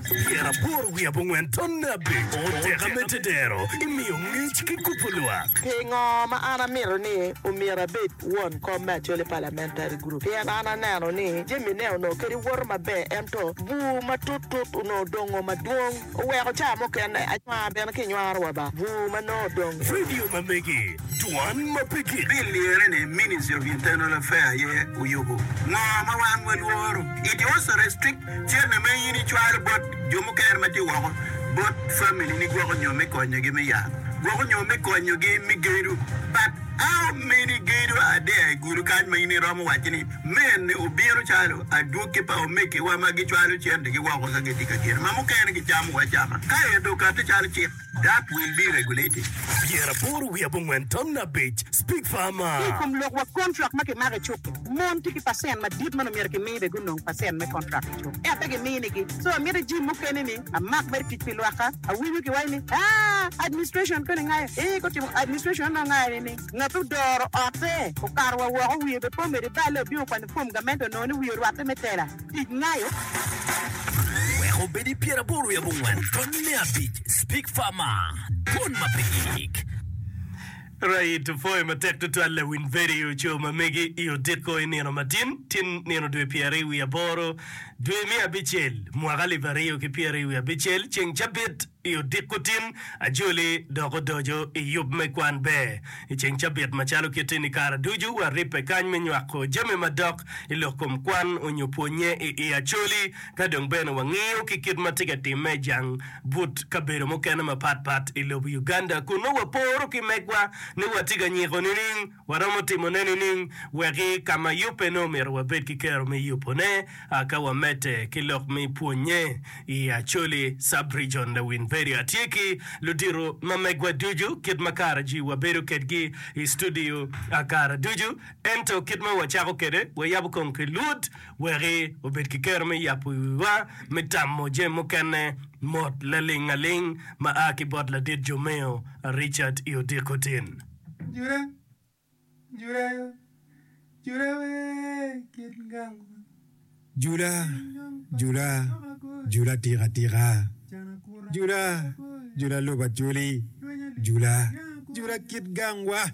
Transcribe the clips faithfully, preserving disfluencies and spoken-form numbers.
Pyeraboro wiye abongwen tonne abic oteka me tedero imiyo ngec ki kubo lwak. Pingo ma an amito ni omyero abed won kom me Acholi Parliamentary Group pien an aneno ni jamine onongo kadi woto maber ento bur matut-tut onongo odongo madwong oweko ca mukene anywar bene ki nywaro wa ba bur ma nongo odong. Radio ma megi dwan ma pe gik. Bill lire ni Ministry of Internal Affairs aye oyubo ngo ma wan walworo. It also restrict cente ma in icwalo bot jo mukene ma tye woko bot family ni gwoko nyo me konyogi me yat, gwoko nyo me konyogi me gedo. But how many gedo are there i Gulu kany ma in iromo waco ni mene obino calo adwogi pa omegiwa ma gicwalo centegi woko ka gitye ka gedo ma mukene gicamo acama ka ento okati calo cik that will be regulated. Pyeraboro wiye abongwen tonne abic Speak Farmer. Ki i kom lok wa kontrak ma kimako i cuk-ki, mon tye ki pacent madit ma nongo myero kimi bene gunong pacent me kontrak i cuk, ento pe giminigi. So amito jim mukene ni amak mere tic pi lwakka. Awinyo kiwaco ni, Aa, administration koni ngayo. Ee, gutimo administration onongo ngayo nining? Ngat odoro otte okato wa woko wiye bene pe omedo i balle obino okwanyo fom gamente onongo ni wiye orwatte me tela tic ngayo. Wek obed i pyeraboro wiye abongwen tonne abic Speak Farmer, dwon ma pe gik. Right, pwoyo matek tutwal lawiny vedio co ma megi i odiko i nino matin tin nino dwe pyeraryo wiye aboro dwe me abicel mwaka alip aryo ki pyeraryo wiye abicel ceng cabit i odiko tin ajoli dok odoco i yub me kwan ber i ceng cabit macalo kit-ti ni kare ducu waribbe kany me nywako jami madok i lok kom kwan onyo pwonye i i Acholi ka dong bene wangiyo ki kit ma tye ka timme i jang but kabedo mukene mapat pat i lobo Uganda kun nongo waporo ki megwa ni watye ka nyiko nining, waromo timone nining weki ka ma yubbe nongo myero wabed ki kero me yubone ka wamedde ki lok me pwonye i Acholi Sub-Region. Lawiny Vedio atye ki ludito ma megwa ducu kit ma kare ji wabedo kedgi i studio kare ducu ento kit ma wacako kwede wayabo kong ki lwod weki obed ki kero me yabo wiwa me tamo jami mukene mot laling aling ma a ki bot ladit Jomeo Richard i odiko tin. Jula, Jula, Jula wee kit gang. Jula, Jula, Jula tika tika. Jula, Jula lobo Acholi. Jula, Jula kit gangwa.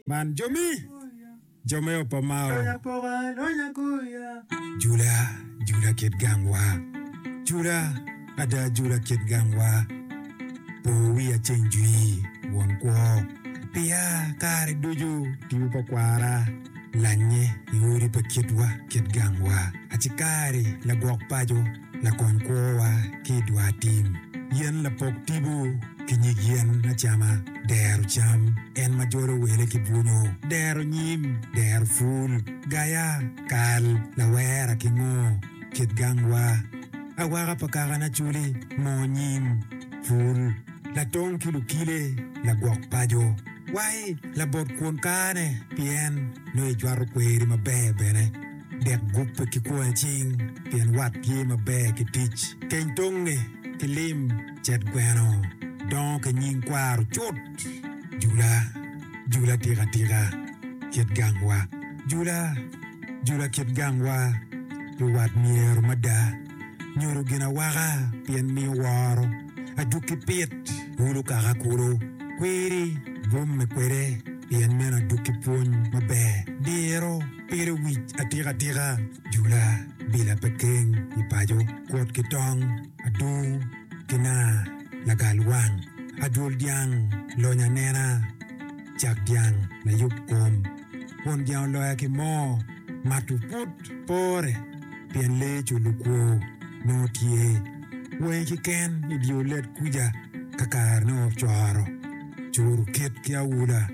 Man jomi. Jo me o pa Mao. Jula, Jula kit gangwa. Jula, ada Jula kit gangwa. Po wiya ceng jwi, won kwo. Piya kare ducu tipo pa kwara lanye i odi pa kitwa kit gangwa. Acikari lagwok paco. Lakony kwowa ki i dwar tim. Yen lapok tipo ki nyig yen acama, dero cam, en ma jolo wele ki bwunyo, dero nyim, dero pul, gaya, kal, lawera ki ngo, kit gangwa, awaka pa kakana culi, moo nyim, pul, latong ki lukile, lagwok paco, wai labot kwon kane pien nongo icwato kweri maber bene. Dek gubbe ki kwonge cing, pien wat tye maber ki tic. Keny tonge ki lim, cet gweno, dongo ki nying kwaro cut. Jula, jula tika tika, kit gangwa. Jula, jula kit gangwa, pi wat myero mada. Nyodo gin awaka, pien miyo woro. Adwogi pit, wulu kaka kulu. Kwiri, bwomme kwede, pien meno adwogi pwony maber. Diro. Piro wic atika tika, jula bila pe keng i paco, kwot ki tong, adungu ki naa, lagal wang, adwol dyang, lony anena, cak dyang, layub kom, won dyang oloya ki moo, mato put pore pien lee culo kwo nongo tye wangi kiken i dye olet kuca ka kare ne ocoro, curu kit ki awula.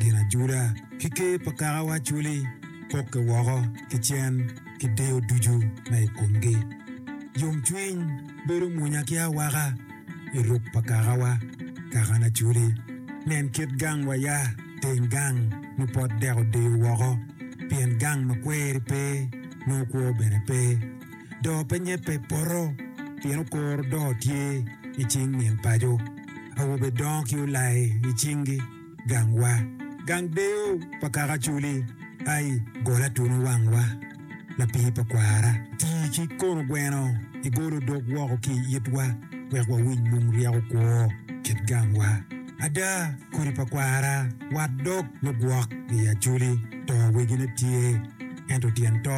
Gin ajula ki ker pa kakawa Acholi pokke woko ki cen ki deyo ducu ma i komgi. Yomcwiny bedo munya ki awaka i ruk pa kakawa, kakana Acholi. Nen kit gang wa ya, teng gang nyo pot dek odeyo woko, pien gang ma kweri pe, nongo kwo bene pe. Doo pe nyebbe poto, pien okoro doo tye i cing min paco. Awobe dongo ki olai i cinggi. Gangwa, gang deyo pa kaka Acholi, ai, gol atunu wangwa, lapii pa kwara. Tii ki kono gweno Igolo dog woko ki i itwa wek wawiny mung ryeko kwo kit gangwa. Ada, kodi pa kwara, wat dog lugwok i Acholi, to wegine tye, ento tyen to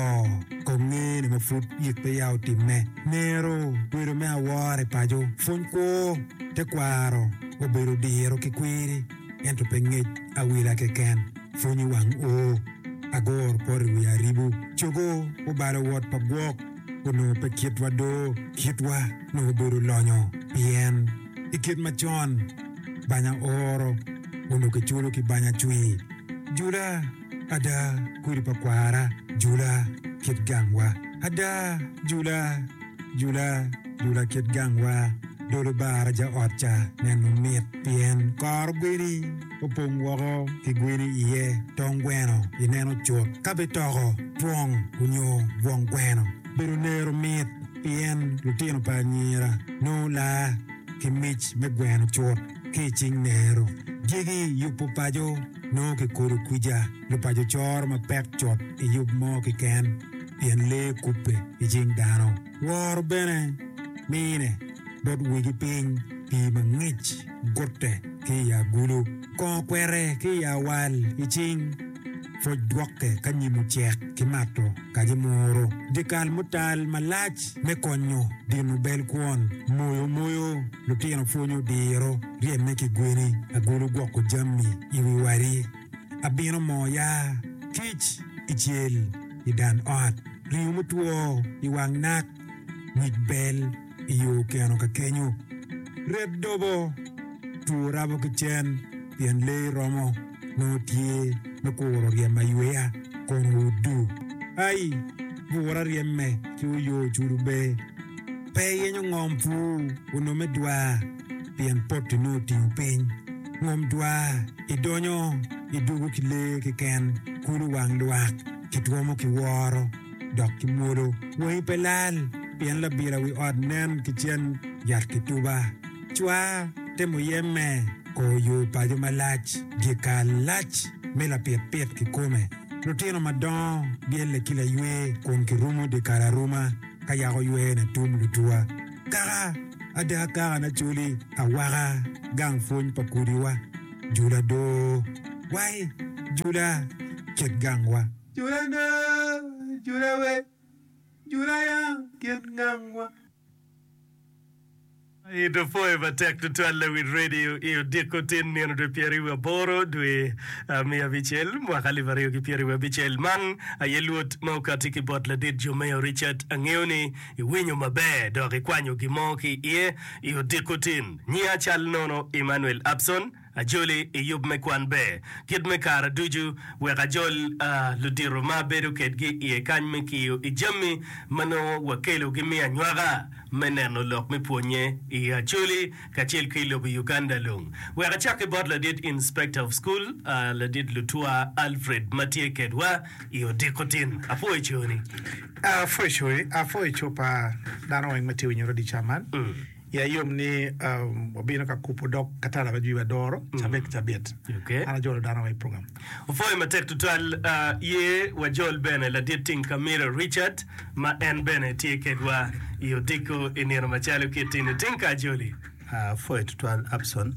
kong ngene ma pud yik peya otimme. Nero bedo me awora i paco, pwony kwo, tekwaro obedo diro ki kwiri, ento pe ngec awila keken. Pwony i wang oo, agoro poto i wi aribo, cogo obalo wot pa gwok, onongo pe kitwa do, kitwa nongo obedo lonyo, pien i kit macon banya oro onongo kiculo ki banya cwir. Jula, ada, kodi pa kwara, jula, kit gangwa. Ada, jula, jula, jula kit gangwa. Dolo baraja ot ca neno mit, pien kor gweni opong woko ki gweni iye, tong gweno ineno cut. Ka bitoko twong onyo bwong gweno, bedo nero mit, pien lutino pa anyira nongo laa ki mic me gweno cut ki i cing nero. Dyegi yubo paco nongo kikodo kwija, lupaco coro mapek cut i yub mo keken, pien lee kubbe i cing dano. Woro bene mine bot wegi piny, pii mangic gutte ki i agulu, kongo kwete ki i awal i cing, pwoc dwokke ka nyimo cek ki mato kaji muru. Dyekal mutal malac me konyo dino bel kwon, moyo moyo lutino pwonyo diro, ryemme ki gweni, agulu gwoko jami i wi wadi, abino moo ya, kic i cel i dan ot, ringo mutwo i wang nak, nyig bel i yo keno ka kenyo, ret dobo, two rabo ki cen, pien lee romo nongo tye me kuro ryem ayweya kono odu. Ai, bura ryemme ki oyo culo be. Pe yenyo ngom pur onongo me dwar, pien poti nongo otingo piny. Ngom dwar idonyo idugo ki lee keken, kulu wang lwak, kitwomo ki woro, dok ki mwolo. Wangi pe lal, pien labila wi ot nen ki cen yat ki tuba. Cwa temo yemme ko yo paco malac, dyekal lac me lapitpit kikome. Lutino madongo byelle ki laywe kun kirumo dyekal aruma ka yako ywene tum lutuwa. Kaka, ada kaka na coli, awaka gang pwony pa kudiwa. Jula do, wai, jula kit gangwa. Jula do, jula we, jula ya kit gangwa. Ito pwoyo matek tutwal lawil radio i odiko tin nino dwe pyeraryo aboro dwe miya abicel mwaka alip aryo ki pyeraryo abicel. Man aye lwot ma okati ki bot ladit Jomeo Richard. Angeyo ni iwinyo maber dok ikwanyo gin mo ki iye i odiko tin. Nyinga cal nono Emmanuel Abson. Ajoli i yub me kwan ber kit me kare ducu wek ajol ludito ma abedo kedgi iye kany me kiyo i jami ma nongo wakelogi me anywaka me neno lok me pwonye i Acholi kacel ki i lobo Uganda lung. Wek acak ki bot ladit Inspector of School ladit Lutwa Alfred ma tye kedwa i odiko tin. Apwoyo coni. Apwoyo coni. Apwoyo co pa dano weng ma tye winyo radio ca man. Iya yom ni wabino ka kubo dog katala ma jwi wadoro cabit ki cabit. An ajolo dano wa i program. Opwoyo matek tutwal. Ye wajol bene ladit Ting Kamira Richard ma en bene tye kedwa i odiko i nino macalo kit tini. Ting ka ajoli. Apwoyo tutwal Abson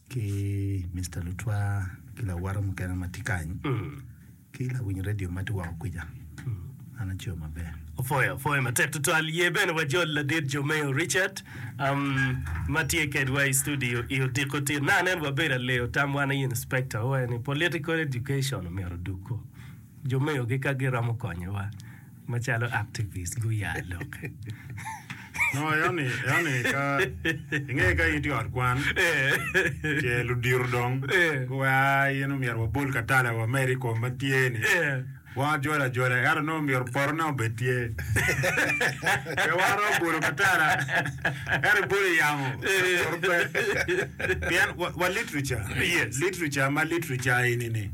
ki Mister Lutwa ki lawota mukene ma tye kany. Ki lawiny redio ma tye woko kwica, an aco maber. Opwoyo, opwoyo matek tutwal. Ye bene wajol ladit Jomeo Richard um, ma tye kedwa i studio i odiko tin. Na anen wabedo aleyo tam wan i inspector owaco ni political education omyero odug-gu. Jomeo gi ka giromo konyowa macalo activist guya lokke. No, eoni, eoni ka inge ka in tye i ot kwan, ce ludito dong guweko in omyero wabol katala wamed i kom ma tye ni, wan wajolo ajola ento nongo myero potone obed tye. Pe wan romo bolo katala ento ibolo i yamo poto pe. Pien wa, wa literature, literature ma literature eni-ni,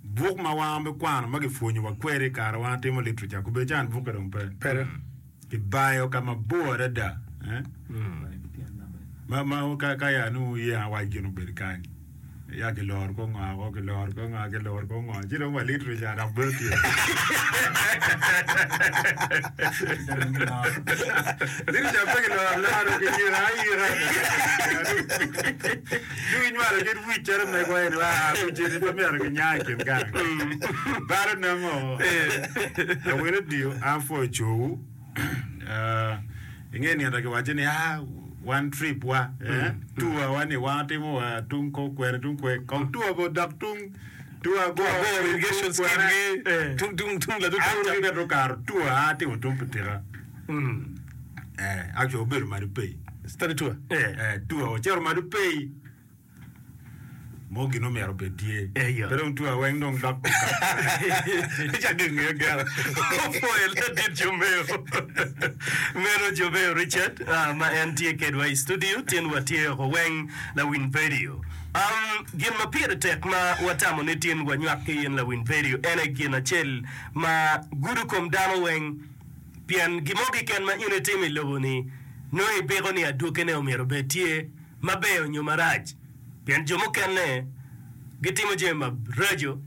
Buk ma wan wabikwano ma gipwonyowa kwede i kare wan watimo literature kubed can bukke dong pe. Kibayo ka mabor adada eh? Ma, ma ka, ka ya nongo wuye awac gin obed kany. Ya kiloro ko ngo ko kiloro ko ngo kiloro ko ngo ci dong wa literature dok bedo tye. Literature pe kiloro alora kiyiko ayika. Ci ginywalo kit wic calo megwa eni wa wic eni pe myero ginya i kin gang. Balo nongo awene odiyo an pwoyo cowu. Inge nino kiwaco ni ah one trip wa eh tour wa ni wan watimo wa tung kor kwene tung kwe kong tour be odok tung tung agor irrigation scheme gi tung tung tung ladu tung ca bene okato tour a atimo tung pitika eh actually obedo malo pei study tour eh tour ocito malo pei Mo gin omyero obed tye. Pe dong two aweng dong dok Cak ingeyo gero. Opwoyo ladit Jomeo. Meno Jomeo Richard ma en tye kedwa i studio tin watye oko weng lawiny vedio. Um, gin ma pire tek ma watamo ni tin wanywak ki in lawiny vedio en aye gin acel ma gudo kom dano weng pien gin mo keken ma in itimo i lobo-ni nongo ibiko ni adwogine omyero obed tye. maber nyo marac, pien jo mukene gitimo jami maraco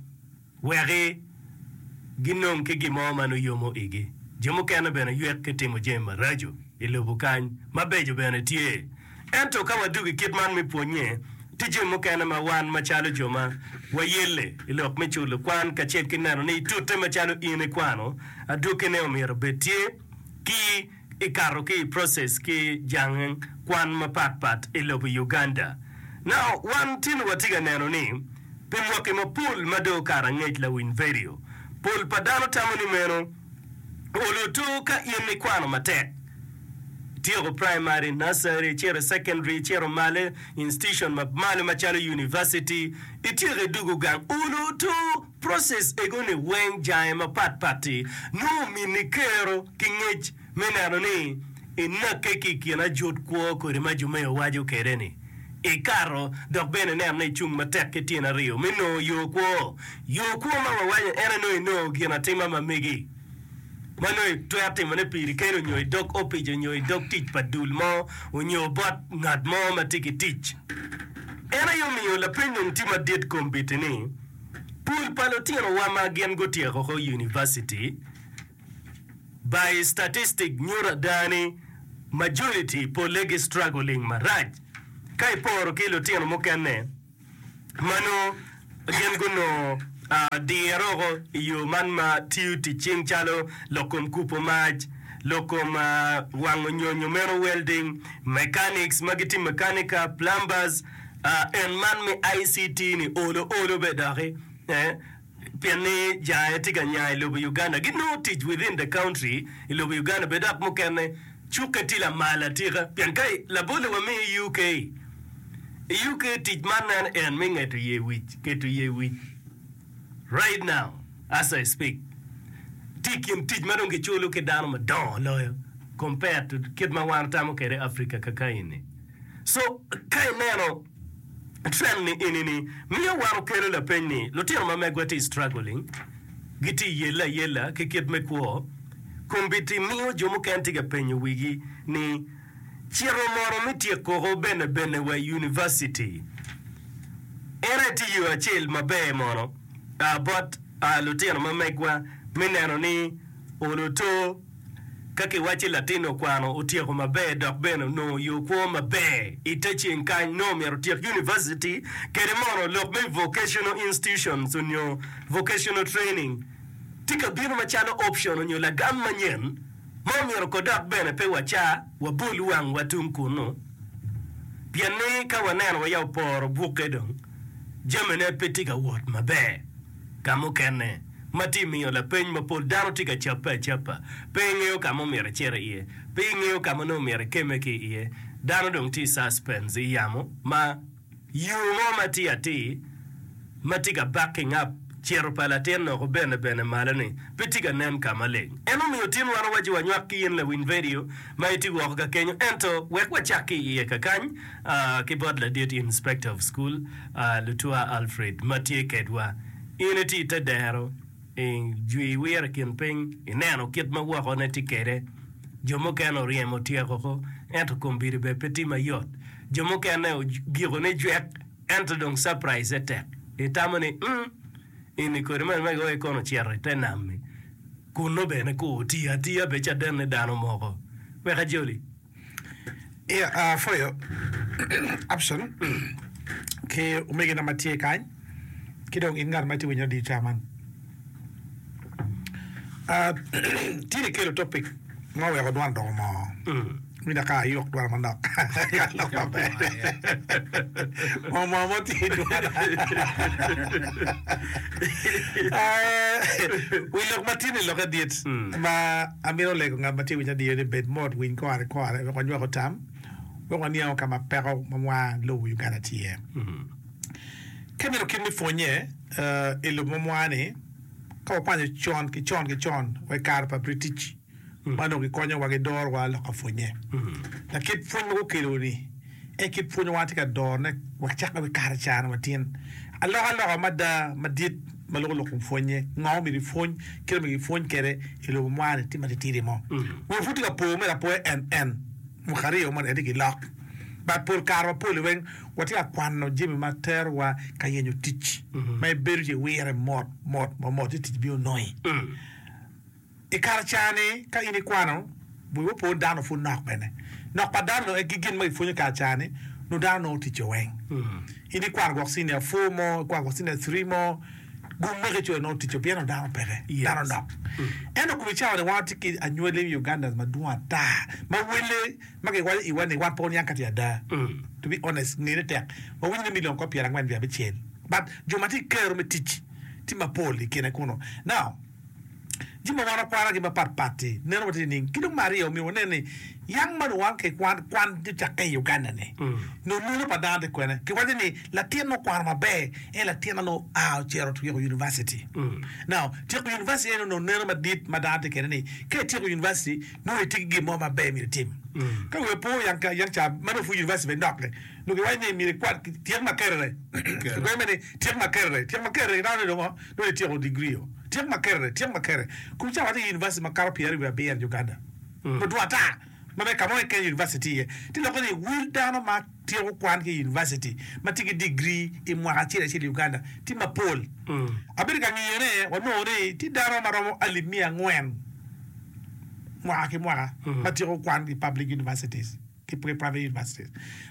wek ginong ki gin mo ma nongo yomo igi. Jo mukene bene ywek ki timo jami maraco i lobo kany, mabeco bene tye. Ento ka wadwogo i kit man me pwonnye, tye jami mukene ma wan macalo jo ma wayelle i lok me culo kwan kacel ki neno ni itute macalo in ikwano, adwogine omyero obed tye ki i kato ki i process ki jang kwan mapat pat i lobo Uganda. Now wan tin watye ka neno ni pi mwaki mapol ma dong okato angec lawiny vedio, pol pa dano tamo ni meno olo to ka in ikwano matek, ityeko primary, nursery, icito i secondary, icito malo institution ma malo macalo university, ityeko idwogo gang olo to. Process ego ni weng jange mapat pat-ti nongo omini kero ki ngec me neno ni inakke ki i kin ajut kwo kodi ma Jumeo waco kede ni ikato dok bene ineno ni icung matek ki tyen aryo me nongo yo kwo. Yo kwo ma wawaco en aye nongo inongo gin atima ma megi ma nongo itwero timone piri keni onyo i dog opic onyo i dog tic pa dul mo onyo bot ngat mo ma tye ki tic. En aye omiyo lapeny dong tye madit kombiti ni, Pol pa lutinowa ma gin gutyeko ko univaciti, by statistic nyuto ada ni majority polle gi struggling marac ka iporo ki lutino mukene ma nongo gin gunongo diro oko i yo man ma tiyo tic cing calo lok kom kubo mac, lok kom wango nyonyo meno welding, mechanics ma gitye mechanica, plumbers, En man me I C T ni olo olo be doki pien ni jange tye ka nya i lobo Uganda ginongo tic within the country i lobo Uganda be dok mukene cukke tye lamal atika pien ka labolle wa miyo i U K i U K tic man nen en me ngeto ye wic keto ye wic right now as I speak tye i kin tic ma dong giculo ki dano madongo loyo compared to kit ma wan watamo kwede Africa kakaeni. So, ka ineno trend ni eni ni miyo wan okelo lapeny ni lutino ma megwa tye struggling, gitye i yelle ayella ki kit me kwo, kombeddi miyo jo mukene tye ka penyo wigi ni cito mono me tyek koko bene bene wa i university en aye tye yo acel maber mono bot lutino ma megwa me neno ni oloto. Ka kiwacci latin okwano otyeko maber dok bene onongo yo kwo maber i te ceng kany, nongo myero otyek univaciti kede mono lok me vocational institutions onyo vocational training tye ka bino macalo option onyo lagam manyen ma omyero ko dok bene pe waca wabol wangwa tung kunu pien ni ka waneno waya oporo bukke dong jamine pe tye ka wot maber ka mukene. Ma tye miyo lapeny mapol, dano tye ka cabbe acaba. Pe ingeyo ka ma omyero icit iye. Pe ingeyo ka ma nongo myero ikemme ki iye. Dano dong tye i suspense, i yamo ma yo mo ma tye atir ma tye ka bak ki ngap cito pa latin noko bene bene malo-ni pe tye ka nen ka maleng. En omiyo tin wan owaci wanywak ki in lawiny vedio ma itye woko ka kenyo. Ento wek wacak ki iye kakany ki bot ladit Inspector of School, Lutua Alfred ma tye kedwa. In itye i te dero, ijwi iwiro i kin piny, ineno kit ma wokone tye kwede. Jo mukene oryemo tyeko oko, ento kombeddi bene pe tye mayot. Jo mukene ogiko ni jwek Ento dong surprise tek. Itamo ni, mm, ini kodi man ma giwaco kono ocito i te nam-mi, kunnu bene kur tiyo atiya be caden ni dano moko. Wek ajoli. Yeah, uh, for your option ki omegina ma tye kany ki dong in ngat ma itye winyo radio ca man. Uh, tye ni kelo topic ma oweko dwan odoko moo. Winyo ka ayok dwan manok. Lok maber. Moo moo mo tye i dwana. Uh, wi lok ma tye ni lokke dit ma amito lego ngat ma tye winyo radio ni bed mot winy kore kore wek wanywako tam wek waniango ka ma peko ma mwa lobo Uganda tye iye. Ka imito kit me pwonye uh, i lobo ma mwa ni ka wakwanyo con ki con ki con wa i kare pa British ma onongo gikonyowa gidorowa lok ka pwonye. Lakit pwony ma gukelo ni en kit pwony ma wan tye ka dorone wacakke wa i kare ca-ni watin. Alokaloka mada madit ma loko lok kom pwonye, ngo myero ipwony, kit ma myero ipwony kwede i lobo mwa-ni tye matitidi mo. Wi pud tye ka po mere apoya en en mwaka aryo moni en tye ki lok. But pol kare mapol weng watye ka kwano jami ma terowa ka yenyo tic ma ibedo ci iwire mot mot mot ci tic bino nongi. I kare ca-ni ka in ikwano, wi opo ni dano pud nok bene. Nok pa dano nongo ki gin ma gipwonyo i kare ca-ni, nongo dano nongo ticce weng. In ikwano gwok senior four mo, ikwano gwok senior three mo, gum meki coyo nongo ticce pien nongo dano peke, dano nok. Ento kom i cawa-ni wan watye ki anywali me Ugandans madwong ata ma wele ma giwaco iwa ni wan pe waniang ka tye ada. To be honest, ngene tek. Wawinyo ni million kor pyerangwen wiye abicel but jo ma tye ki kero me tic tye mapol i kine kunu. Now, Jami ma wan wakwanagi mapat pat-ti neno watye nining? Ki dong me aryo, myero wanen ni yang ma dong wan ki kwan kwan ocakke i Uganda-ni, nongo neno pa dano tye kwene. Kiwaco ni latin ma okwano maber en latin ma nongo oa ocito otyeko univaciti. Now, tyeko univaciti en onongo neno madit ma dano tye kwede ni ka ityeko univaciti nongo itye ki gin mo maber myero itim. Ka wiya po yang yang ca ma nongo pud univaciti bene nok-ki, nongo kiwaco ni myero ikwan tyek Makerere. Kiwaco ni tyek Makerere, tyek Makerere dano ni dong nongo ityeko degree-o. Tyek Makerere, tyek Makerere. Kun ca watye ki university makato pyeraryo wiye abiro i Uganda. Madwong ata ma me ka mo keken university tye iye. Tye lokke ni wel dano ma tyeko kwan ki i university ma tye ki degree i mwaka acel acel i Uganda tye mapol. Abedo ka ngiyone wanongo ni tye dano ma romo alip miya angwen mwaka ki mwaka ma tyeko kwan i public universities. Ki private universities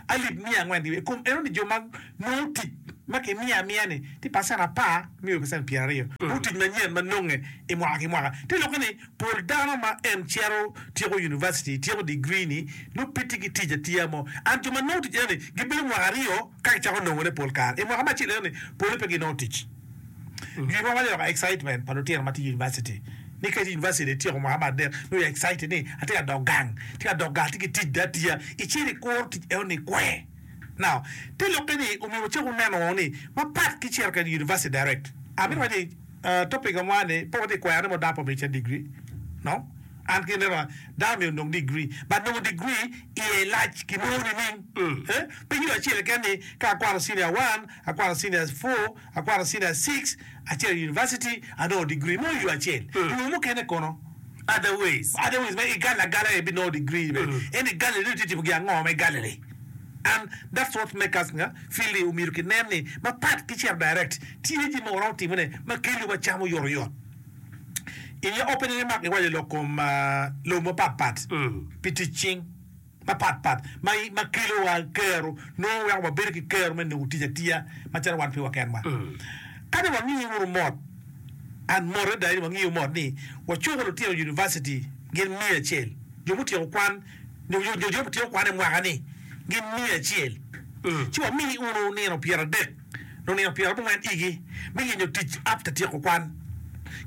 alip miya angwen ki wiye. I kom eno ni jo ma nongo tic ma kimiyo amiya ni tye pacent apar me o pacent pyeraryo nongo tic manyen ma nonge i mwaka ki mwaka. Te lokke ni pol dano ma en cito tyeko university, tyeko degree ni nongo pe tye ki tic atiya mo. And jo ma nongo tic eno ni gibedo mwaka aryo ka gicako nongone pol kare. I mwaka me acel eno ni pole pe ginongo tic. Gin ma waco loko excitement pa lutino ma tye i university ni ka itye i university ityeko mwaka me adek nongo i excited ni atye ka dok gang atye ka dok gang atye ki tic dong atiya icito ikuro tic eno ni kwe now te lokke ni omyero wacak wuneno ni mapat ki cito kwede i university direct amito waco ni topic ma ni pe watye kwero ni mo dano pe omyero ocit degree no an ki neno dano myero onong degree but nongo degree iye lac kinongo nining pe yo acel keken ni ka akwano senior one akwano senior four Akwano senior six, acito i university, anongo degree. Nongo yo acel. Yo mukene kono? Other ways. Other ways ma igalo agala aye ibinongo degree bene. Ento i Galilee nongo itye timo gin ango ma i Galilee? And that's what make us feel ni omyero kinen ni mapat ki cito direct, tye jami ma waromo timone ma keliwa cam oyotoyot. In your opening remark iwaco lok kom lobo mapat pat pi tic cing. Mapat pat ma ma kelowa kero nongo weko wabedo ki kero me nongo tic atiya macalo wan piwa kenwa. Ka ni wangiyo wunu mot, and mot adada ni wangiyo mot ni wacuko lutino university gin miya acel, jo mutyeko kwan nyo jo mutyeko kwan i mwaka ni gin miya acel, ci wamii wunu nino pyeradek nyo nino pyerabongwen igi me yenyo tic after tyeko kwan.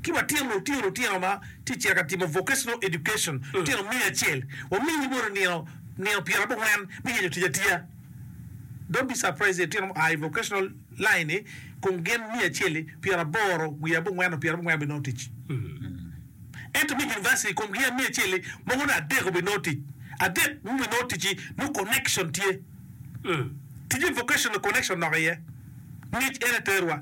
Ki watino lutino lutino ma tye cito ka timo vocational education lutino miya acel wamini bot nino nino pyerabongwen me yenyo tic atiya. Don't be surprised ni lutino mua i vocational line ni kun gin miya acel-li pyeraboro wiye abongwen nyo pyerabongwen binongo tic. Ento me university kom gin miya acel-li mogo ni adek obinongo tic. Adek mubinongo tic-ci nongo connection tye. Tic me vocational connection nok iye. Ngec en aye terwa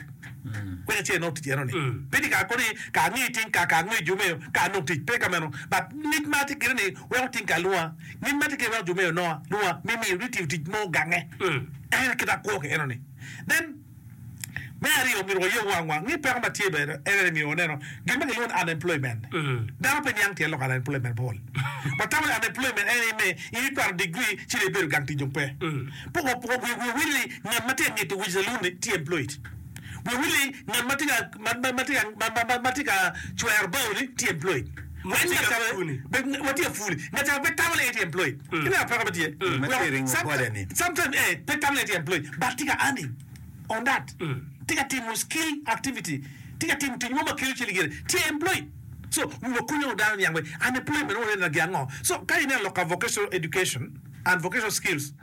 wek icit inong tic enoni. Pe ni ka koni ka ange ting ka ka ange jo meyo ka anong tic. Pe ka meno. But ngec ma atye kede ni weko ting ka alwonga. Ngec ma atye kede weko jo meyo nonga lwonga me miyo ni tiyo tic mo gange. En aye kit akwo ki enoni. Then me aryo myero wayub wangwa ngi peko ma tye bene en aye myero waneno gin ma kilwongo ni unemployment. Dano pe niang tyen lok unemployment pol. Watamo ni unemployment en aye me in ikwano degree ci dong ibedo gang tic dong pe. Pe wiwa wil ni ngat ma tye ka ngito wic saloon ni tye employed. Wiwa wil ni ngat ma tye ka ma tye ka cwero bao ni tye employed. Ma tye ka puni. Ngat ca pe tamo ni en tye employed. Ineno peko ma tye? Sometimes pe tamo ni en tye employed but tye ka earning. On that, tye ka timo skill activity, tye ka timo tic mo ma kelo cente gire, tye employed. So, wiwa konyo dano niang wek unemployment mo neno gin ango. So, ka ineno lok ka vocational education and vocational skills,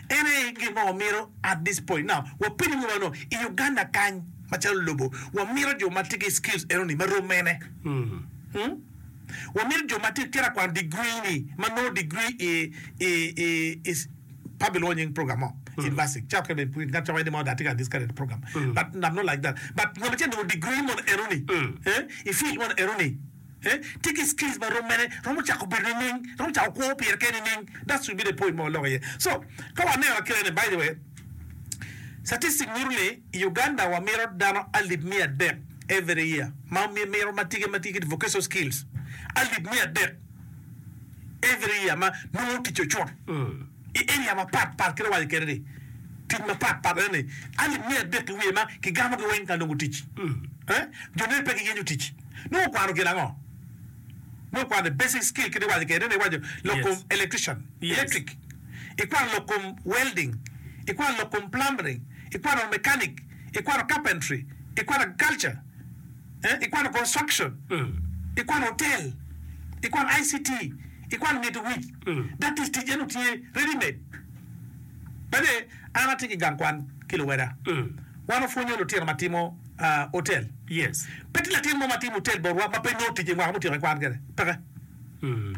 en aye gin ma wamito at this point. Now, wapenyo wiwa no, i Uganda kany macalo lobo, wamito jo ma tye ki skills enoni ma rom mene? Hmm? Wamito jo ma tye ka kwano degree ni, ma nongo degree i, i, i, i pe abilwongo nying program mo university ca okene ngat ca ni mo that tye ka discredit program but I'm not like that but ngat acel nongo degree mono enoni eh i field mono enoni eh tye ki skills ma rom mene romo cako bedo nining romo cako kwo pire kene nining that should be the point ma waloko iye so ka waneno akele ni by the way statistic nyuto ni i Uganda wamito dano alip miya adek every year ma mito ma tye ma tye ki vocational skills alip miya adek every year ma nongo tic ocut i area mapat pat kit awaco kede ni tic mapat pat ene ni alip miya adek ki wiye ma kigamo gi weng ka nongo tic eh jo nene pe giyenyo tic nongo okwano gin ango nongo okwano basic skill kit iwaco kede ni iwaco lok kom electrician electric ikwano lok kom welding ikwano lok kom plumbering ikwano mechanic ikwano carpentry ikwano agriculture eh ikwano construction ikwano hotel ikwano I C T ikwano ngeto wic that is tic eno tye ready made bene an atye ki gang kwan ki luweda wan opwonyo lutino ma timo hotel Yes. Pe tye latin mo ma timo hotel botwa ma pe nongo tic i mwaka mutyeko i kwan kede peke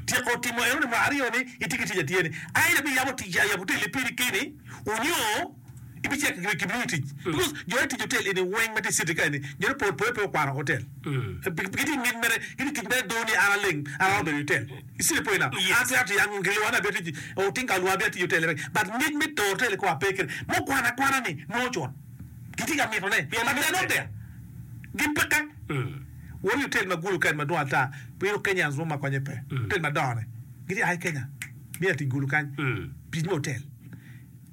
tyeko timo eno ni mwaka aryo ni itye ki tic atiya ni either biyabo tic yabo hotel piri keni onyo ibicito kibimiyi tic because jo ma tic hotel eni weng ma tye i city ka eni jo ne pol pole pe okwano hotel gitye ki ngec mere gitye tic mere dong ni an aleng an aromo bedo i hotel you see the point now an twero tic an gilwonga ni abino tic oting ka olwonga abino atiyo i hotel but ngec me toro hotel kong ape kede mukwano akwana ni nongo cut gitye ka mitone but they are not there gin peke wot i hotel ma Gulu kany madwong ata wilo Kenyans mo ma konye pe hotel madongo ni gitye a i Kenya bino tic Gulu kany tic me hotel.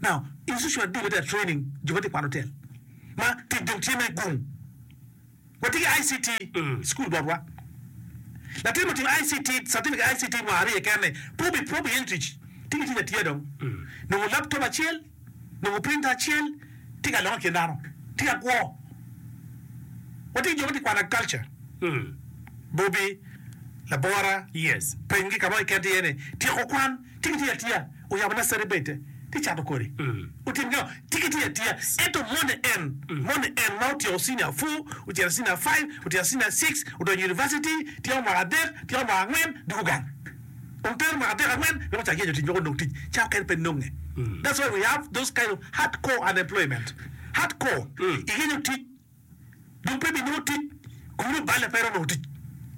Now, institution adi ma tye ka training jo ma tye ka kwano hotel ma tic dong tye me gung? Watye ki I C T school botwa. Latin ma otimo I C T, certificate I C T mwaka aryo keken ni pe obi pe obiyenyo tic. Tye ki tic atiya dong. Nongo laptop acel, nongo printer acel, tye ka longe i kin dano, tye ka kwo. Watye ki jo ma tye ka kwano agriculture. Bobi, labora, Yes. penygi ka mo keken tye iye ni tyeko kwan. Tye ki tic atiya, oyabo nursery bed-te, tye cato kodi. Otim gin ango? Tye ki tic atiya. Ento moni en, moni en ma otyeko senior four, ocito senior five, otyeko senior six, odonyo university, tyeko mwaka adek, tyeko mwaka angwen, dwogo gang. Dong tero mwaka adek angwen wek ocak yenyo tic wek onong tic. Ca okene pe nonge. That's why we have those kind of hardcore unemployment. Hardcore. Iyenyo tic. Dong pe binongo tic, kunu oballe pe romo tic.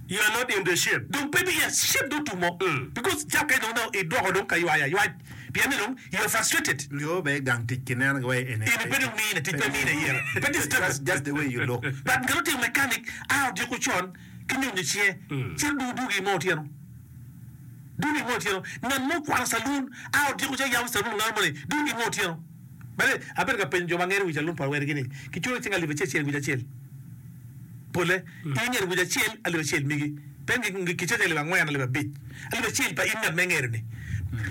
You are not in the shape. Dong pe bi shape dong otumo because ca kany dong nongo idwoko dong ka ywaya aywac pien ni dong you are frustrated. Nyo bene gang tic kineno gi wai eni. Eni pe dong mine tic pe mine ire pe tye stable. Just, just the way you look. But ngat otimo mechanic a odiko con ki nyonyo cinge cito dong odugi mo otyeno dugi mo otyeno ngat mo okwano saloon a odiko ca yabo saloon ngat mo ni dugi mo otyeno. Bene, abedo ka penyo jo ma ngeto wic alum pa wergi ni, Kiculo cing alip acel acel i wic acel? Polle, in ingeto wic acel alip acel migi, pe kicoco alip angwen, alip abic, alip acel pa in ngat ma ingeto-ni.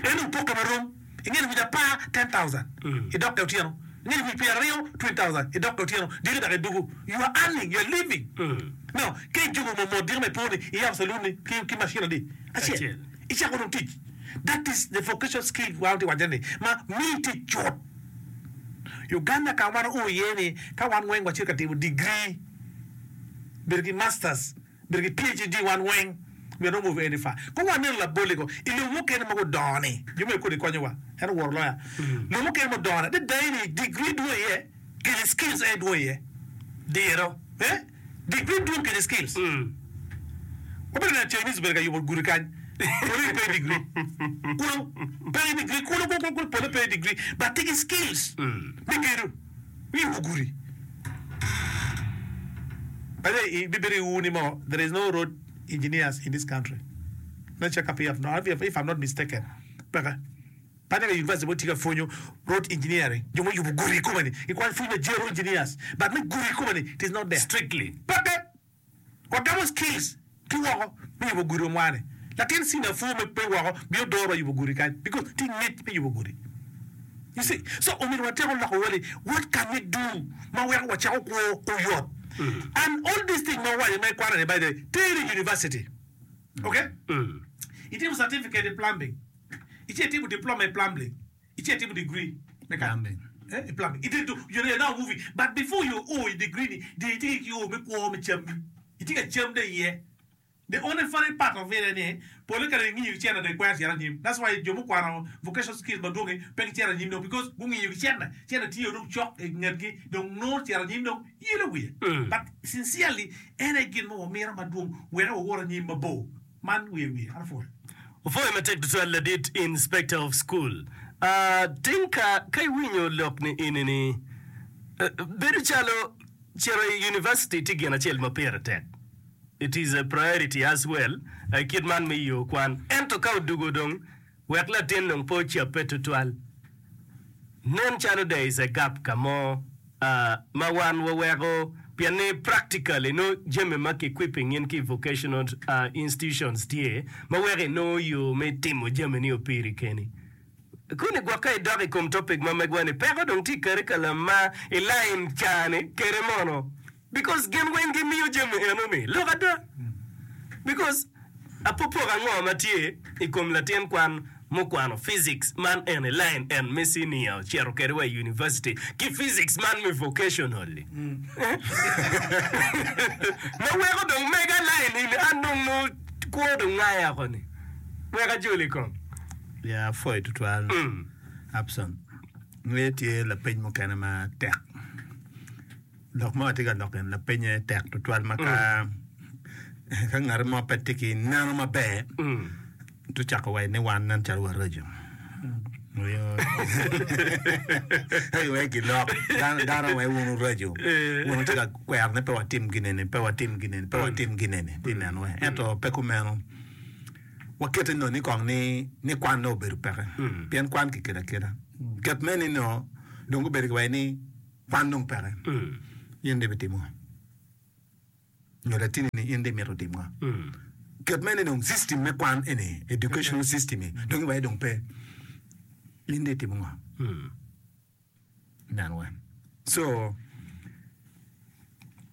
En opokke marom, ingeto wic apar, ten thousand, idokke otyeno, ingeto wic pyeraryo, twenty thousand, idokke otyeno, diki dok idwogo. You are earning, you are living. Now, ka ijuko mot diki ma ipo-ni, iyabo calun-ni ki macin adi? Acel. Icako dong tic. That is the vocational skill wan watye waco ni ma miyi tic cut. Uganda ka wan oo iye ni ka wan weng wacito ka timo degree bedo ki masters bedo ki P H D wan weng we are not moving any far. Ko waneno laboli ko i lobo mukene ma gudongo ni jo me kodi konyo wa en oworo loya lobo mukene mudongo ni adada ni degree dwong iye kede skills aye dwong iye. Diro. Eh? Degree dwong kede skills. Wabedo neno Chinese obedo ka yubo gudi kany. Pole pe degree. Kulu pe degree. Kulu kulu kulu pole pe degree. But tye ki skills me gedo. Yubo gudi. By the way, ibibedi uni mo, there is no road engineers in this country. Let check up if, if I'm not mistaken. Peke. Panya ka university mo tye ka pwonyo road engineering, jo mo yubo gudi kome ni, ikwan pwony me general engineers, but me gudi kome ni, it is not there. Strictly. Peke. Wagamo skills ki woko me yubo gudi omwani. Latin senior four me pe woko bino doro yubo gudi kany because tye ngec me yubo gudi. You see, so omyero wateko loko wali, what can we do ma weko wacako kwo oyot? And all these things ma wawaco ma ikwano ni by the way, teri university. Okay? Itimo certificate i plumbing. Ice itimo diploma i plumbing. Ice itimo degree me kany. Plumbing. Eh, i plumbing. Itye to, you are now moving. But before you o i degree ni, dong itye ki o me kwo me cammi. Itye ka cam dong iye. The only funny part of it ni, pole kare ingiyo ki cene dong ikwero cito anyim. That's why jo mukwano vocational skills madwongi pe gicito anyim dong because gungiyo ki cene. Cene tye dong cok i ngetgi dong nongo cito anyim dong yelo wiye. But sincerely, en aye gin ma wamito madwong wek wawot anyim mabor. Man wiye wiye. An apwoyo. Opwoyo matek tutwal ladit Inspector of School. Uh, tinka ka iwinyo lok ni ini ni uh, bedo calo cito i university tye gin acel ma pire tek. It is a priority as well uh, kit man me yo kwan. Ento ka odugo dong wek latin dong pe ocappe tutwal. Nen calo there is a gap ka mo uh, ma wan waweko pien ni practically no jami ma ki equipping in ki vocational uh, institutions tye ma weko inongo yo me timo jami ni opiri keni. Kuni gwok ka idok i kom topic ma megwa ni peko dong tye i curriculum ma i line cani kede mono because gin weng gimiyo jami eno ni lok ada because apopok ango ma tye i kom latin kwan mukwano physics man en i line en me senior ocito kede wa i university ki physics man me vocational li ma weko dong mega line ini an dong no kwo dong ngaya oko ni wek ajoli kong. Ya apwoyo tutwal Abson. Ngeyo tye lapeny mukene ma tek. Lok ma watye ka loko eni lapenye tek tutwal ma ka ka ngat mo pe tye ki neno maber to cako waco ni wan nen calo waraco. Wek gilok dano dano wai wun wuraco wun wutye ka kwero ni pe watim gin eni pe watim gin eni pe watim gin eni ti neno wai ento pe kumeno. Wakete nongo ni kong ni ni kwan dong obedo peke pien kwan kikelo akela. Ket mere ni nongo dong gubedo ki waci ni kwan dong peke in dong ibitimo ngo? Nyo latini ni in dong imito tim ngo? Ket mere ni dong system me kwan eni educational system ni dong iwaci dong pe in dong itimo ngo? Nen wen. So,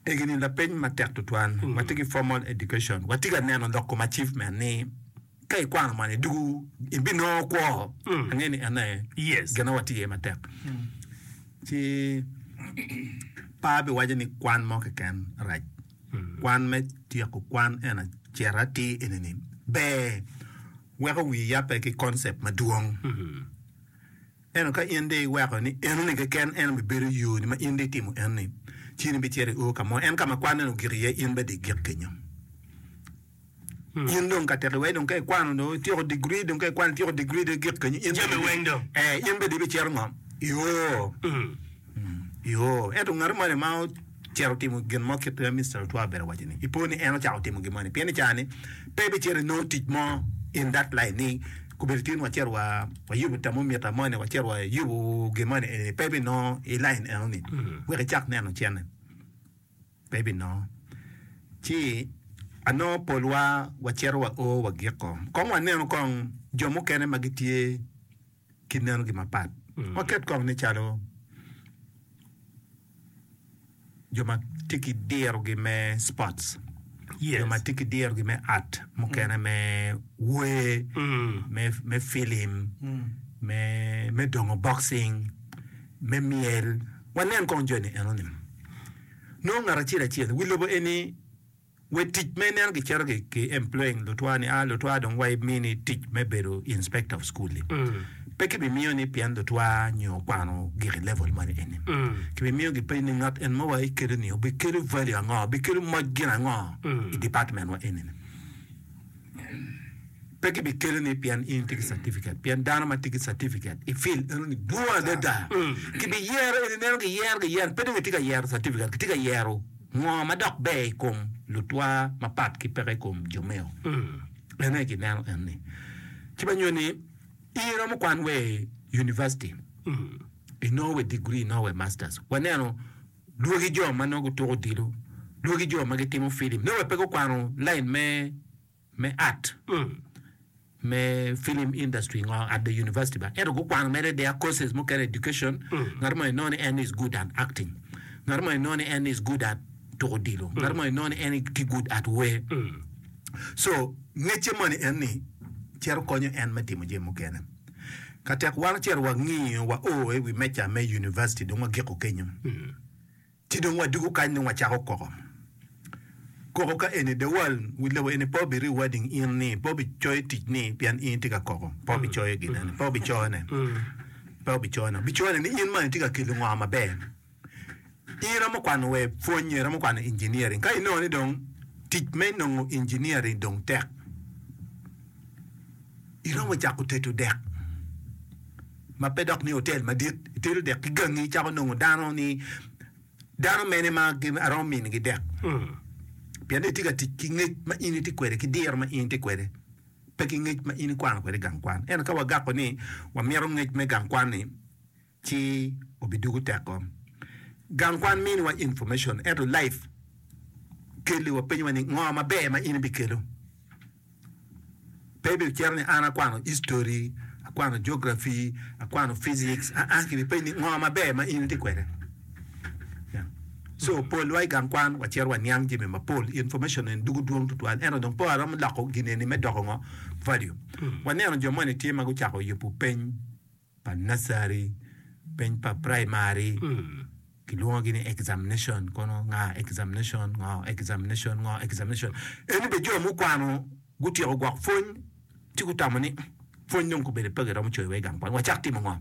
egini lapeny matek tutwal. Watye ki formal education. Watye ka neno lok kom achievement ni ka ikwano man idugu ibinongo kwo. Angeyo ni en aye Yes. gin ma watye iye matek. Ci pe abiwaco ni kwan mo keken rac. Kwan me tyeko kwan en acito atir eni-ni ber weko wi yabbe ki concept madwong. Ento ka in dong iweko ni enoni keken en obibedo yoni ma in dong itimo enoni, ci in ibicito i o ka mo, en ka ma kwan-ni ogik iye, in bene dong igik kenyo. In dong ka tek iweko dong ka ikwano dong ityeko digri dong ka ikwano ityeko digri dong igik kenyo, in Jami bene weng dong. eh, in bene dong ibicito ngo? I o. I o. Ento ngat moni ma ocito otimo gin mo kit ma Mister Otwa obedo waco ni, ipo ni en ocako timo gin moni, pien i caa-ni pe ibicito inongo tic mo in that line ni Kobedo tin wacito wa wayubo thermometer moni, wacito wayubo gin moni eni, pe ibinongo i line enoni wek icak neno cene, pe ibinongo. Ci anongo polwa wacito wa o wagiko. Kong wanenu kong jo mukene ma gitye ki nenogi mapat. Waket kong ni calo jo ma tye ki dirogi me sports, jo ma tye ki dirogi me art mukene me wer, me, me film, me, me dongo boxing, me myel. Wanen kong joni enoni. Nongo ngat acel acel wi lobo eni We tic ma ineno gicito ki employing lutwa ni a lutwa dong wa imini tic me bedo inspector of school li. Pe kibimiyo ni pien lutwa nyo okwano gik i level moni eni. Kibimiyo gipenyo ni ngat en ma wa ikelo ni obikelo value ango, obikelo moc gin ango i department wa eni ni. Pe kibikelo ni pien in itye ki certificate, pien dano ma tye ki certificate i field eno ni dwong adada. Kibiyero eni ineno giyero giyero pe dong gitye ka yero certificate, gitye ka yero ngo ma dok ber i kom lutwa mapat ki peke i kom jo meo. En aye kineno en ni. Ci ma nyuto ni in iromo kwan wa i university, inongo wa degree, inongo wa masters. Waneno lwagi jo ma nongo gutuko odilo, lwagi jo ma gitimo filim, nongo wa pe gukwano line me me art me film industry ngo at the university ba ento gukwano mere their courses mukene education ngat mo inongo ni en is good at acting ngat mo inongo ni en is good at tuko odilo ngat mo inongo ni en tye good at wer so ngecce moni en ni cito konyo en me timo jami mukene ka tek wan ocito wangiyo wa o i wi meja me university dong wagiko kenyo. Ci dong wadugo kany dong wacako koko. Koko ka eni the world wi lobo eni pe obi rewarding in ni pe obi coyo tic ni pien in itye ka koko pe obi coyo gin eni pe obi coyo ne pe obi coyo ne obi coyo ne ni in man itye ka kelo ngo maber. In iromo kwano wa pwony nyo iromo kwano engineering ka inongo ni dong tic me nongo engineering dong tek iromo cako tedo dek. Ma pe dok ni otel madit, itedo dek ki gangi, icako nongo dano ni dano mene ma aromo minigi dek. Pien ni itye ka tic ki ngec ma in itye kwede ki diro ma in itye kwede, pe ki ngec ma in ikwano kwede i gang kwan. Ento ka wagako ni wamito ngec me gang kwan-ni, ci obidugo teko. Gang kwan miniwa information, ento life keliwa penyowa ni ngo maber ma in ibikelo. Pe ibicito ni an akwano history, akwano geography, akwano physics, aa kibipenyi ni ngo maber ma in itye kwede. So polwa i gang kwan wacito waniang jami mapol, information eni dugo dwong tutwal ento dong pe waromo loko gin eni me doko ngo? Value. Waneno jo moni tye ma gucako yubo peny pa nursery, peny pa primary, kilwongogi ni examination kono nga examination ngo examination ngo examination. Eni bene jo mukwano gutyeko gwok pwony ci gutamo ni pwony dong kobedo pe giromo coyo wa i gang kwan wacak timo ngo?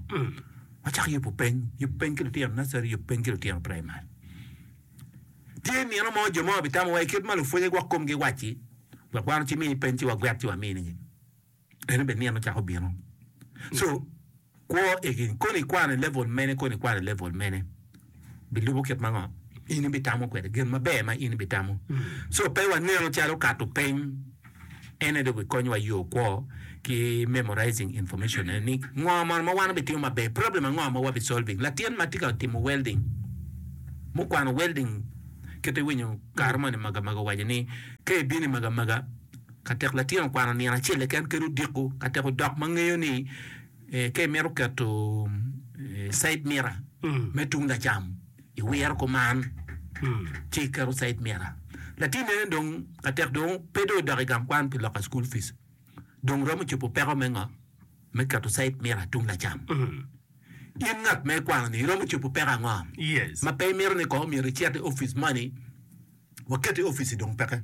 Wacak yubo peny, yub peny ki lutino nursery, yub peny ki lutino primary. Tye nino mo jo mo bitamo wa i kit ma lupwonye gwok komgi wacci wek wan ocimi peny ci wagwet ci waminigi. Eno bene nino cako bino. So, kwo egi, kono ikwano i level mene, kono ikwano i level mene, bilubo kit ma ngo in ibitamo kwede, gin maber ma in ibitamo. So, pe waneno calo kato peny en aye dong bikonyowa yo kwo ki memorizing information ene ni ngo mono ma wan wabitimo maber, problem ango ma wabi solving. Latin ma tye ka timo welding, mukwano welding kit iwinyo kare moni magamaga owaco ni ka ibino i magamaga, Ka tek latin okwano nino acel keken kadi odiko, ka tek odok ma ngeyo ni ka imito keto side mirror me tung lacam iwiro kuman ci iketo side mirror. Latin eni dong ka tek dong pe dong odok i gang kwan pi loko school fees dong romo cobo peko me ngo? Me keto side mirror tung lacam. In ngat ma ikwano ni iromo cobo peko ango ma pe imito ni kong myero icit i opic moni Waket i opici dong peke.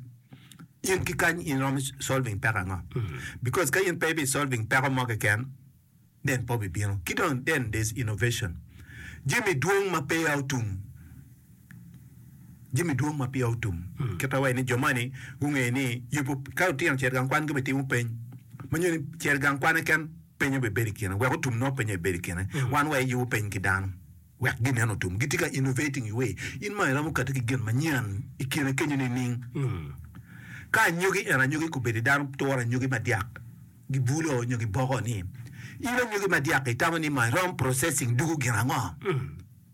In ki kany in iromo solving peko ango? Because ka in pe ibi solving peko mo keken, then pe obibino. Ki dong then there's innovation. Jami dwong ma peya otum. Jami dwong ma peya otum. Kit ma waco ni jo moni gungeyo ni yubo ka lutino ocito i gang kwan gibitimo peny. Ma nyo ni cito i gang kwan keken peny obibedo i kine. Wek otum nongo peny obibedo i kine. Wan wa iyubo peny ki dano. Wek ginen otum. Gitye ka innovating i way. In ma iromo kati ki gin manyen i kine kenyo nining? Ka anyogi en anyogi kobedi dano turo anyogi madyak gibulo nyo giboko ni in anyogi madyak itamo ni ma irom processing dugo gin ango?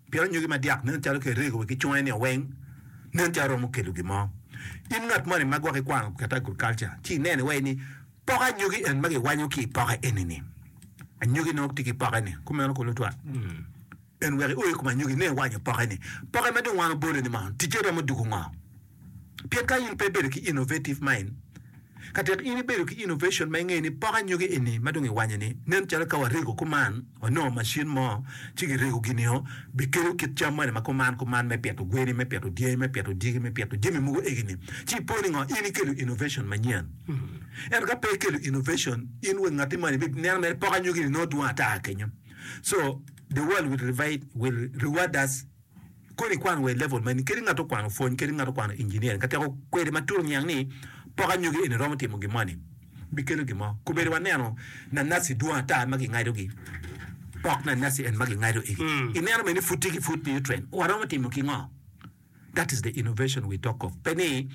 Pien anyogi madyak nen calo kirego wa ki conge ni weng nen calo romo kelo gin mo. In ngat moni ma gwok ikwano kit agriculture ci ineno iwaci ni poko anyogi en ma giwanyo ki i poke eni-ni. Anyogi nongo tye ki poke-ni, kumeno kulu twal. En wek io i kom anyogi ne iwanyo poke-ni. Poke ma dong wan obolo-ni mono, ticce romo dugo ngo? Pien ka in pe ibedo ki innovative mind, ka tek in ibedo ki innovation ma ingeyo ni pok anyogi eni ma dong iwanyo-ni nen calo ka warego kuman, wanongo macin mo ci girego gin-nio, bikelo kit cam moni ma kuman kuman me pito gweni, me pito dyangi, me pito dyegi, me pito jami mogo egi-ni. Ci ipo ni ngo? In ikelo innovation manyen. Ento ka pe ikelo innovation, in wa ngatti moni ibineno mere pok anyogi-ni nongo dwong ata kenyo. So, the world will revide, will reward us. Kono ikwano wa i level mani, kadi ngat okwano pwony, kadi ngat okwano engineering, ka teko kwede matut oniang ni pok anyogi eni romo timo gin moni, Bikelo gin mo. Kobedo waneno nanasi dwong ata ma gingadogi, pok nanasi en ma gingado egi. Ineno bene ni pud tye ki food nutrient. Waromo timo ki ngo? That is the innovation we talk of. Pe ni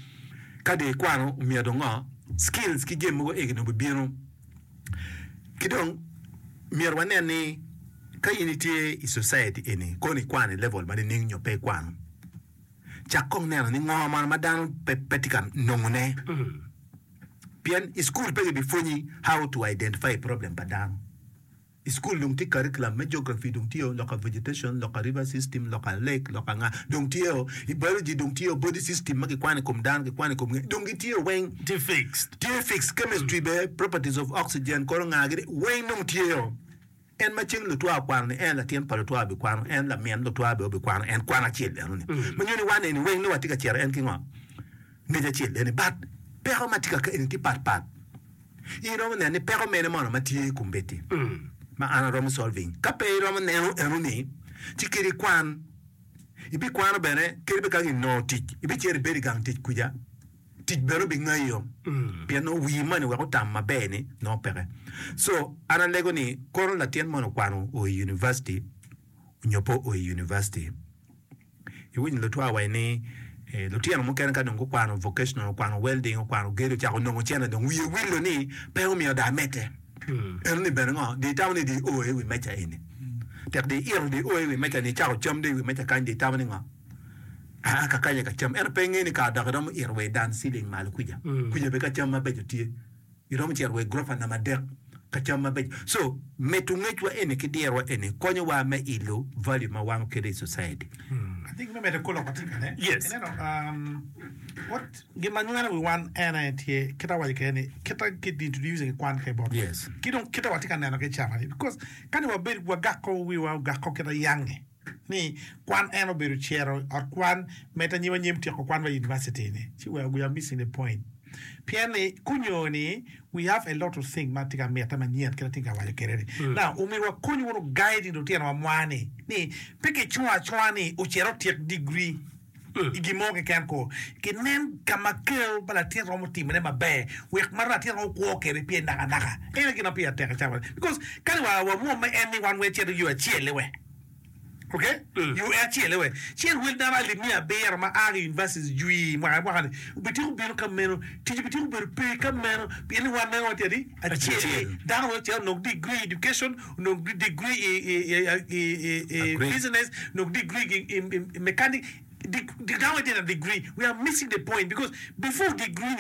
ka dong ikwano omyero dong ngo, skills ki jami mogo egi dong bibino. Ki dong myero wanen ni ka in itye i society eni kono ikwano i level ma nining nyo pe ikwano, cak kong neno ni ngo mono ma dano pe pe tye ka nongone. Pien i cukul pe gibipwonyi how to identify problem pa dano. I cukul dong tye curriculum me geography dong tye o, loka vegetation, loka river system, loka lake, loka nga dong tye o. I biology dong tye o, body system ma kikwano i kom dano, kikwano i kom nge dong gitye o weng. Tye fixed. Tye fixed. Chemistry bene, properties of oxygen kono nga gini weng dong tye o. En ma ceng lutwa okwano ni en latin pa lutwa obikwano, en lamin lutwa bene obikwano en kwan acel eno ni. Ma nyo ni wan eni weng nongo watye ka cito en ki ngo? Ngec acel eni. But peko ma tye ka ka eni tye pat pat. In iromo neno ni peko mene mono ma tye i kombeddi ma an aromo solving. Ka pe iromo neno eno ni, ci kadi ikwan, ibikwano bene kadi bed ka inongo tic, ibicito ibedo i gang tic kuca, tic bene obingayo pien nongo wii moni wek otam maber ni nongo peke. So an alego ni kono latin moni okwano o i university nyo pe o i university, Iwinyo lutwa waci ni lutino mukene ka dong gukwano vocational, okwano welding, okwano gedo ocako nongo cene dong wiye wilo ni pe omyero dong amedde. Eno ni bene ngo? Dong itamo ni dong io i wi meja eni. Tek dong ito dong io i wi meja ni icako cam dong i wi meja kany dong itamo ni ngo? Aa ka kany aye ka cam. Ento pe ingeyo ni kare dok iromo ito wa i dan ceiling malo kuca. Kuca bene ka cam mabeco tye. Iromo cito wa i gurofa namba adek ka cam mabeco. So, medo ngecwa eni ki dirwa eni konyowa me ilo value ma wan wakelo i society. I think me medo kor lok watye kene. Yes. Ineno, um, what gin ma nyweno wi wan en aye tye kita awaco kede ni kita ki introducing kwan ke botwa. Yes. Ki dong kita watye ka neno ki cawa ni because ka ni wabed wagako wiwa ogako kita yange. ni kwan en obedo cito i ot kwan med anyim anyim tyeko kwan wa i university ni ci we we are missing the point pien ni kunyo ni we have a lot of thing ma tye ka mite manyen kit atye ka waco kwede ni now omyero wakony wunu guiding lutino wa mwa ni ni pe ki cungo acunga ni ocit otyek degree i gin mo keken ko ki nen ka ma ker pa latin romo timo ne maber wek ma latin romo kwo kwede pye naka naka en aye gin ma pire tek i cawa ni because kadi wa wamwomme en ni wan weng cito yo acel-li we ok yo acel-li we ci en wel dano alip miya abiro ma a ki i universities jwi mwaka ki mwaka ni obityeko bino ka meno tic obityeko bedo pe ka meno pien ni wan neno watye adi acel-li dano weng ocito onong degree i education onong degree i business, onong degree i mechanic, dano weng tye na degree, we are missing the point because before degree ni.